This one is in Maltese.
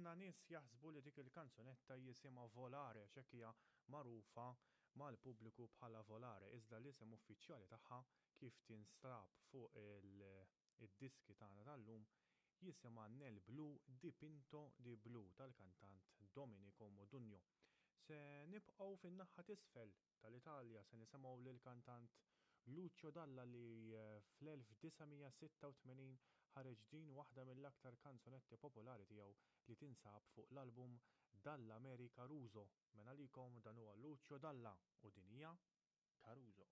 Ħafna nies jaħsbu li dik il-kanzunetta jisimha Volare għax hekk hija magħrufa mal-pubbliku bħala Volare, iżda l-isem uffiċjali tagħha kif tinstab fuq id-diski tagħna tal-lum jisimha Nel Blu Dipinto di Blu tal-kantant Domenico Modugno. Se nibqgħu fin-naħa t'isfel tal-Italja se nisimgħu lill-kantant Lucio Dalla li eh, fl-1986 ħareġ din waħda mill-aktar kanzunetti popolari tiegħu li tinsab fuq l-album Dall'America Caruso. Mela għalikom dan huwa Lucio Dalla u din hija Caruso.